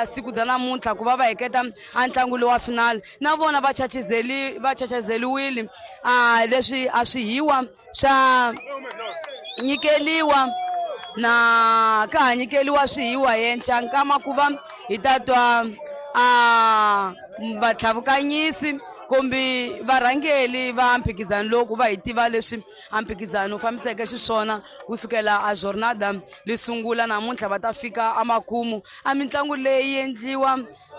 Siku bya namuntlha ku va va heketa a ntlangu lowa final na vona va chachizeli va chachazeliwile a leswi a swi hiwa swa nyikeliwa na ka ha nyikeliwa swihiwa yenca nkama ku va hi ta twa a vatlhavukanyisi kumbe varhangeli va mphikizano lowu ku va hi tiva leswi a mphikizano wu fambiseke xiswona ku sukela a jornada li sungula namuntlha va ta fika emakumu a mitlangu leyi endliwa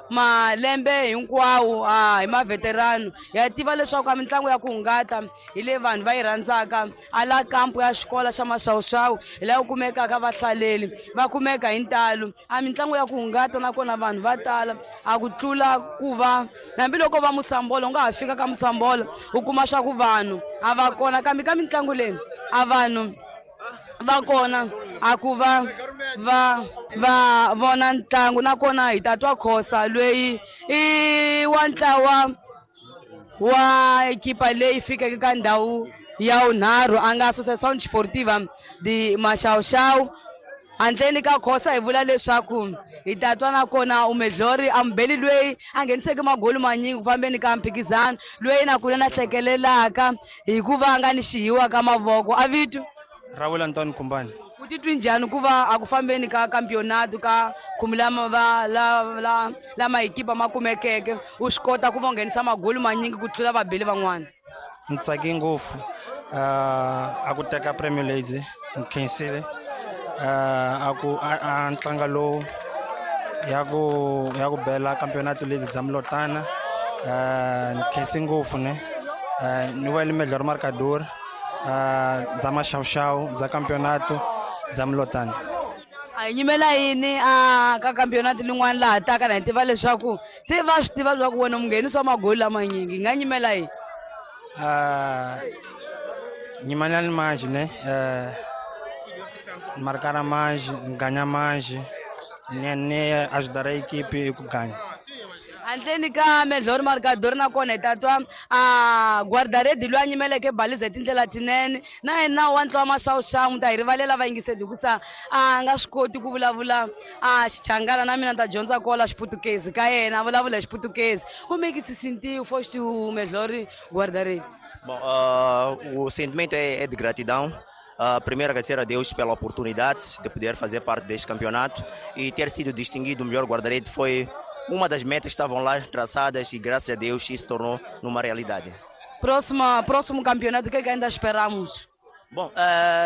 malembe hinkwawo a hi maveterano ya tiva leswaku a mitlangu ya ku hungata hi leyi vanhu va yi rhandzaka a la kampu ya xikolo xa maxawuxawu hi laha ku kumekaka vahlaleli va kumeka hi ntalo a mitlangu ya ku hungata nakona vanhu va tala a ku tlula ku va hambiloko va musambolo u nga ha fika ka musambolo u kuma swa ku vanhu a va kona kambe ka mitlangu leyi a vanhu va kona a ku va va va vona ntlangu nakona hi ta twa khosa loyi i wa ntlawa wa ekipa leyi fikeke ka ndhawu ya vunharhu a nga Associação Desportiva de Maxavuxavu. Handleni ka khosa hi vula leswaku hi ta twa nakona umedlori amubeli loyi a ngheniseke magoli manyingi ku fambeni ka mphikizano loyi na kule na hlekelelaka hikuva a nga ni xihiwa ka mavoko a vito Rawula Antoine Kumbani. U titwi njhani ku va a ku fambeni ka campionato ka khume lama va la la lama ekipa ma kumekeke u swi kota ku va u nghenisa magoli manyingi ku tlula vabeli van'wana? Ni tsake ngopfu a ku teka Premier League ni khensile a ku a ntlanga lowu ya ku bela campeonato league bya Mulotana ni khensi ngopfu ne ni wele melhor marcador bya maxavuxavu bya campeonato bya Mulotana. A hi nyimela yini a ka campionato lin'wana laha taka na hi tiva leswaku se va swi tiva leswaku wena munghenisi wa magoli lamanyingi hi nga nyimela yini? Nyimanani mais, né? Marcar mais, ganhar mais, né, né, ajudar a equipe ku ganha. Handleni ka melhor marcador nakona hi ta twa a guardaredi loyi a nyimeleke baliza hi tindlela tinene na yena wa ntlawa maxavuxavu ta hi rivalela vayingiseti hikusa a nga swi koti ku vulavula a xichangana na mina ni ta dyondza kola xiputukezi ka yena a vulavula hi xiputukezi. Como é que se sentiu? Foste o melhor guarda-redes. Bom, o sentimento é de gratidão. Primeiro, agradecer a Deus pela oportunidade de poder fazer parte deste campeonato e ter sido distinguido o melhor guarda-redes foi uma das metas que estavam lá traçadas e, graças a Deus, isso se tornou numa realidade. Próximo campeonato, o que é que ainda esperamos? Bom,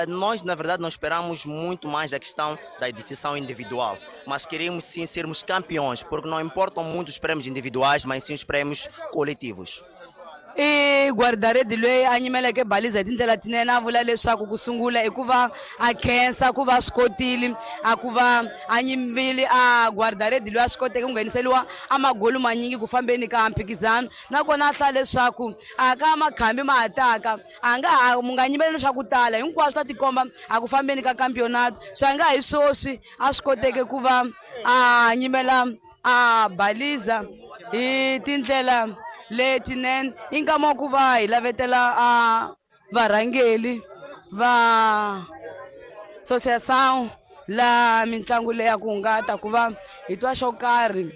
nós na verdade não esperamos muito mais da questão da distinção individual, mas queremos sim sermos campeões, porque não importam muito os prêmios individuais, mas sim os prêmios coletivos. I guarda-rede loyi a nyimeleke baliza hi tindlela tinene a vula leswaku ku sungula i ku va a khensa ku va swi kotile a ku va a nyimbile a guarda-rede loyi a swi koteke ku ngheniseliwa a magoli manyingi ku fambeni ka mphikizano nakona a hlaya leswaku a ka makhambi ma ha taka a nga ha mu nga nyimeleli swa ku tala hinkwaswo ta tikomba a ku fambeni ka campionato swa nga hi swoswi a swi koteke ku va a nyimela a baliza hi tindlela letinene. I nkama wa ku va hi lavetela a varhangeli va associação la mitlangu leyi ya ku hungata ku va hi twa xo karhi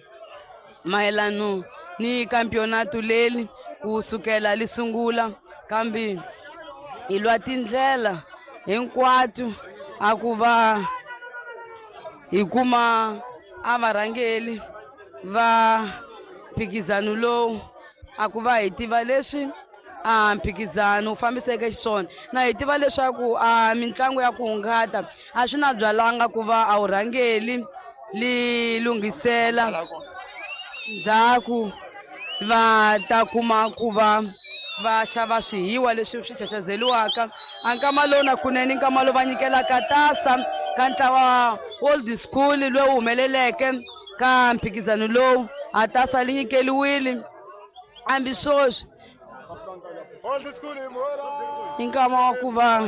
mayelano ni campionato leri ku sukela li sungula kambe hi lwa tindlela hinkwato a ku va hi kuma a varhangeli va mphikizano lowu a ku va hi tiva leswi a mphikizano wu fambiseke xiswona na hi tiva leswaku a mitlangu ya ku hungata a swi na byalanga ku va a wu rhangeli li lunghisela ndzhaku va ta kuma ku va va xava swihiwa leswi swi chachazeliwaka a nkama lowu na kunene nkama lowu va nyikelaka tasa ka ntlawa old school lowu humeleleke ka mphikizano lowu a tasa li nyikeliwile hambi swoswi i nkama wa ku va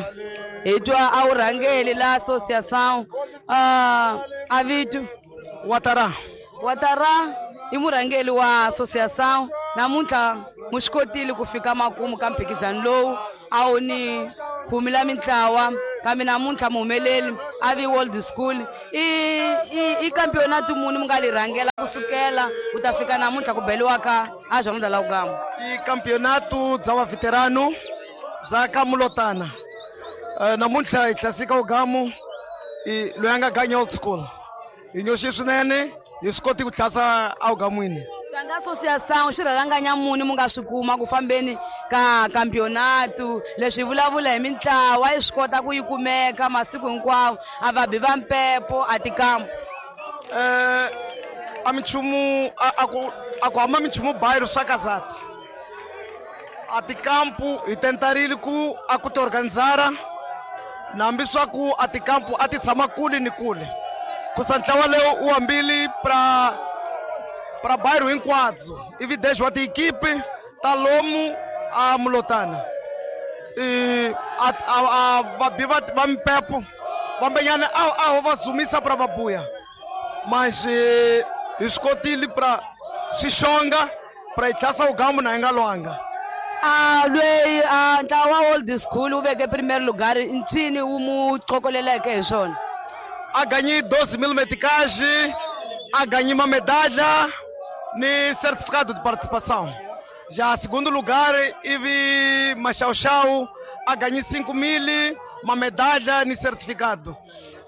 hi twa a wu rhangeli la associação a vito Watara. Watara i murhangeli wa associação namuntlha mu swi kotile ku fika makumu ka mphikizano lowu a wu ni khume la mintlawa. Kambe namuntlha muhumeleli a vi World School i campeonato muni mi nga li rhangela kusukela ku ta fika namuntlha ku beliwa ka a Jornada la Ugamo? I campeonato dza va veterano dza ka Mulotana. Namuntlha hi tlasika Ugamo i loyi a nga ganya Old School. Hi nyoxi swinene hi swi koti ku tlhasa Ugamwini. Swi associação swi rhalanganya muni mu nga swi kuma ku fambeni ka campeonato leswi vulavula hi mintlawa yi swi kota ku yi kumeka masiku hinkwawo a vabi va mpepo a tikampu. A minchumu a ku hamba minchumu bairro swa kazata a tikampu hi tentarile ku a ku ti organizara nambi swa ku a tikampu a ti tshama kule ni kule kusa ntlawa lowu u hambile pra bairro hinkwabyo ivi dez wa tiekipe ta lomu a Mulotana a vabi va mpepo vambenyana a va zumisa pra vabuya mas hi swi kotile pra swixonga pra hi tlhasa Ugambo na hi nga lwanga. A lweyi a ntlawa wa Old School wu veke primeiro lugar ncini wu mu qokoleleke hi swona? A ganhei 12.000 meticais, a ganhei uma medalha ni certificado de participação. Já segundo lugar, Ivi Machau a ganhei 5.000, uma medalha ni certificado.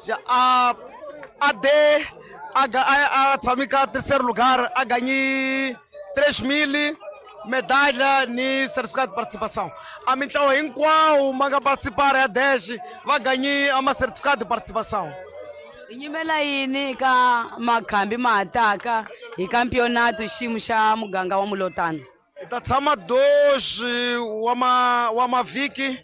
Já a D, a Tsamika terceiro lugar, a ganhei 3.000, medalha ni certificado de participação. A mintlawa hinkwawo ma nga participar ya 10 va ganhei uma certificado de participação. Hi nyimela yini ka makhambi ma hataka hi campeonato xiyimo xa muganga wa Mulotana? Hi ta tshama 2 wa mavhiki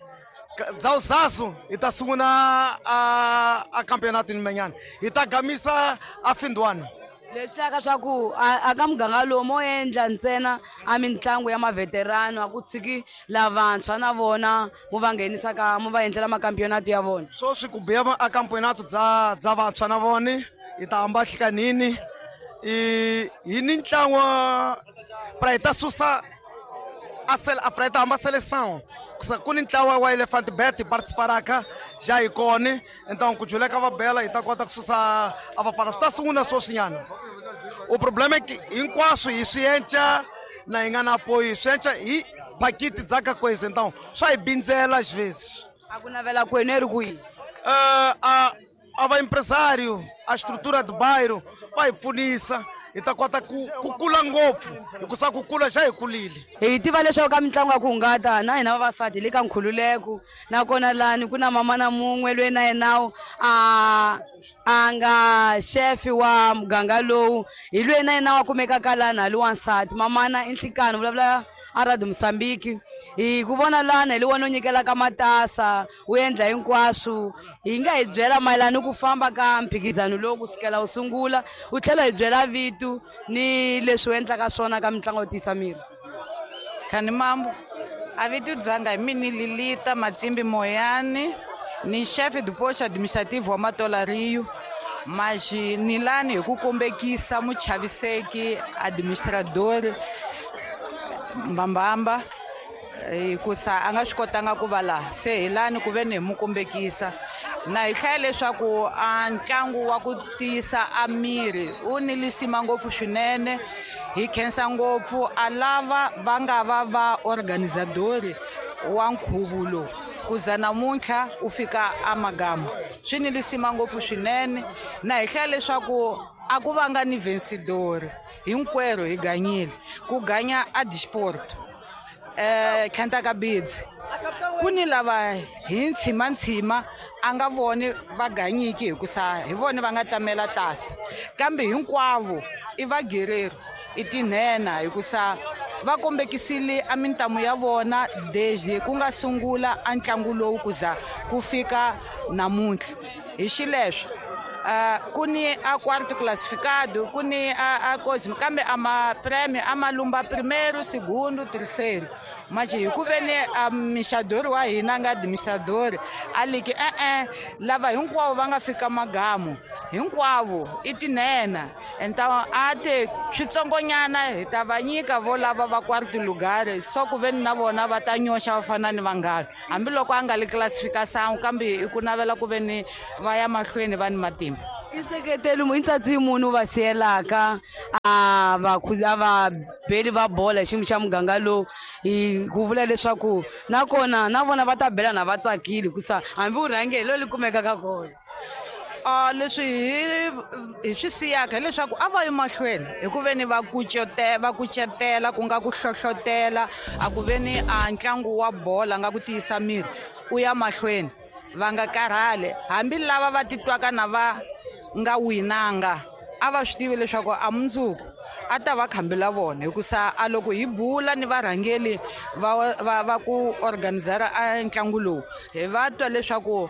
dza uzazo hi ta sungula a campeonato ni menyana hi ta gamisa a findwana. Leswi hlaka swa ku a ka muganga lowu mo endla ntsena a mitlangu ya maveterano a ku tshiki lavantshwa na vona mu va nghenisa ka mu va endlela makampeonato ya vona. Sweswi ku biya a campeonato dza vantshwa na vona hi ta hamba hlikanini hi ni ntlangu pra hi ta susa a pra hi ta hamba seleção ku ni ntlawa wa Elephant Bet participaraka já hi kona então ku juleka va bela hi ta kota ku susa a vafana swi ta sungula sweswinyana. O problema é que hinkwaswo hi swi enca na hi nga na apoio swi enca hi pakiti dza ka coisa então swa hi bindzela às vezes. A ku navela kwenu eri kwihi? A va empresário a estrutura do bairro va hi pfunisa hi ta kota ku kula ngopfu hikusa ku kula xa hi kulile. Hi tiva leswaku ka mitlangu ya ku hungata na hina vavasati hi le ka nkhululeko nakona lani ku na mama na mun'we loyi na yenawo a nga xefi wa muganga lowu hi loyi na yena wa kumekaka lani hali wansati mamana i Nhlikani vulavula a Radio Mozambique. Hi ku vona lani hi le wona u nyikelaka matasa wu endla hinkwaswo hi nga hi byela mayelana ku famba ka mphikizano lowu kusukela wu sungula u tlhela hi byela vito ni leswi u endlaka swona ka mitlangu yo tiyisa miri. Khani mambo a vito dzanga hi mini Lilita Matsimbi Moyani ni chefe do posto administrativo wa Matola Rio mas ni lani hi ku kombekisa muchaviseki administrador Mbambamba hikusa a nga swi kotanga ku va laha se hi lani ku ve ni hi mu kombekisa na hi hlaya leswaku a ntlangu wa ku tiyisa a miri wu ni lisima ngopfu swinene hi khensa ngopfu a lava va nga va va organizadori wa nkhuvo lowu kuza namuntlha u fika a Magama swi ni lisima ngopfu swinene na hi hlaya leswaku a ku vanga ni vencedor hinkwerhu hi ganyile ku ganya a disport tlhantaka bidzi ku ni lava hi ntshima a nga voni va ganyiki hikusa hi vona va nga tamela tasi kambe hinkwavo i vagereri i tinhena hikusa va kombekisile a mintamu ya vona desde ku nga sungula a ntlangu lowu kuza ku fika namuntlha hi xileswo Ku ni a quarto classificado, ku ni a coisa, kambe a ma prêmio a ma lumba primeiro, segundo, terceiro. Mas hi ku ve ni a mixadori wa hina nga administrador a liki e-e lava hinkwavo va nga fika magamu hinkwavo i tinene. Então a te switsongonyana hi ta va nyika vo lava va quarto lugar, so ku ve ni na vona va ta nyoxa va fana ni vanghana, hambiloko a nga li classification, kambe i ku navela ku ve ni va ya mahlweni va ni matimba. I seketeli i ntsatsi munhu va siyelaka a va a vabeli va bola hi xiyimo xa muganga lowu, hi ku vula leswaku nakona na vona va ta bela na va tsakile hikusa hambi u rhange hi lo li kumekaka kona. Leswi hi swi siyaka hileswaku a va yi mahlweni hi ku ve ni va va kucetela, ku nga ku hlohlotela a ku ve ni a ntlangu wa bola nga ku tiyisa miri u ya mahlweni, va nga karhali. Hambi lava va titwaka na va nga winanga a va swi tivi leswaku a mundzuku a ta va khambela vona, hikusa a loko hi bula ni varhangeli va ku organizera a ntlangu lowu, hi va twa leswaku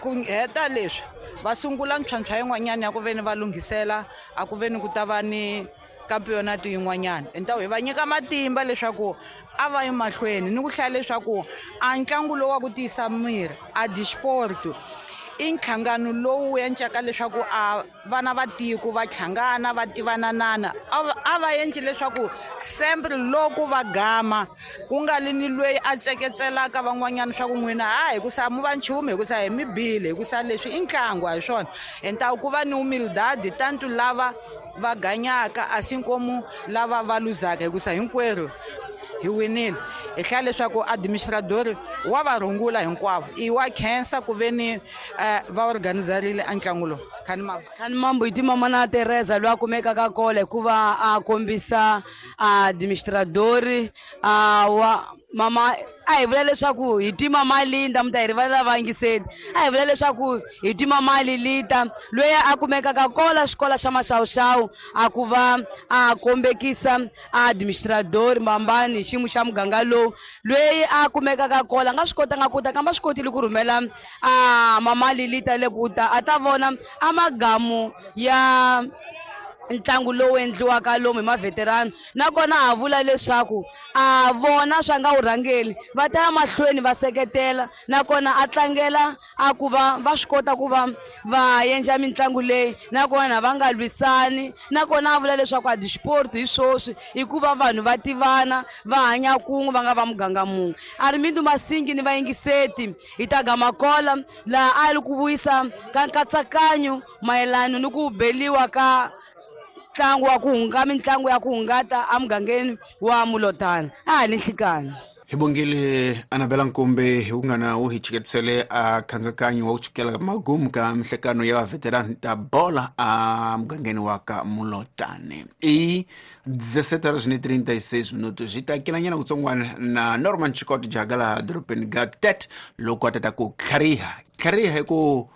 ku heta leswi va sungula ntlhontlho yin'wanyana ya ku ve ni va lunghisela a ku ve ni ku ta va ni campeonato yin'wanyana. Então hi va nyika matimba leswaku a va yi mahlweni ni ku hlaya leswaku a ntlangu lowu wa ku tiyisa miri a disporto i nhlangano lowu endlaka leswaku a vana va tiko va hlangana va tivananana. A va endli leswaku sempre loko va gama ku nga li ni lweyi a tseketselaka van'wanyana swa ku n'wina ha hikusa mu va nchumu, hikusa hi mi bile, hikusa leswi i ntlangu a hi swona. Entawu ku va ni humildade tanto lava va ganyaka a si nkomu lava va luzaka, hikusa hinkwerhu hi winile. Hi hlaya leswaku administrador wa va rungula hinkwavo, i wa khensa ku ve ni va organizarile a ntlangu lowu. Khani mambo. Khani mambo hi timama na Teresa loyi a kumekaka kona hikuva a kombisa administrador a wa mama. A hi vula leswaku hi tima Malinda, mi ta hi rivalela vayingiseli. A hi vula leswaku hi tima Malilita loyi a kumekaka kola xikolo xa Maxawuxawu, a ku va a kombekisa administrador Mbambani hi xiyimo xa muganga lowu loyi a kumekaka kola. A nga swi kotanga ku ta, kambe a swi kotile ku rhumela a mama Lilita le ku ta a ta vona a magamu ya ntlangu lowu endliwaka lomu hi maveterano. Nakona ha vula leswaku a vona swa nga wu rhangeli va ta ya mahlweni va seketela, nakona a tlangela a ku va va swi kota ku va va endla mitlangu leyi, nakona va nga lwisani. Nakona a vula leswaku a disport hi swoswi hikuva vanhu va tivana va hanya kun'we va nga va muganga mun'we. Armindo Masingi ni vayingiseti hi ta gama kola laha a li ku vuyisa ka nkatsakanyo mayelana ni ku beliwa ka ntlangu wa ku hunga mitlangu ya ku hungata emugangeni wa Mulotana. A ha ni nhlikani. Hi bongile Anabela Nkumbe hi ku nga na wu hi chiketisele a khandzakanya wa ku chukela magumu ka mihlekano ya vaveterani ta bola a mugangeni wa ka Mulotane. I 17:36 minutos. Hi ta kelanyana kutsongwana na Norman Chikoti jaga laha dorobeni ga Tet loko a tata ku tlhariha tlhariha hi ku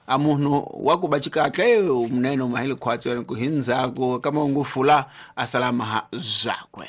a munhu wa ku ba xikahle munene mahile khwatsi ku hi ndzhaku ka mahungu fula a salama ha zwakwe.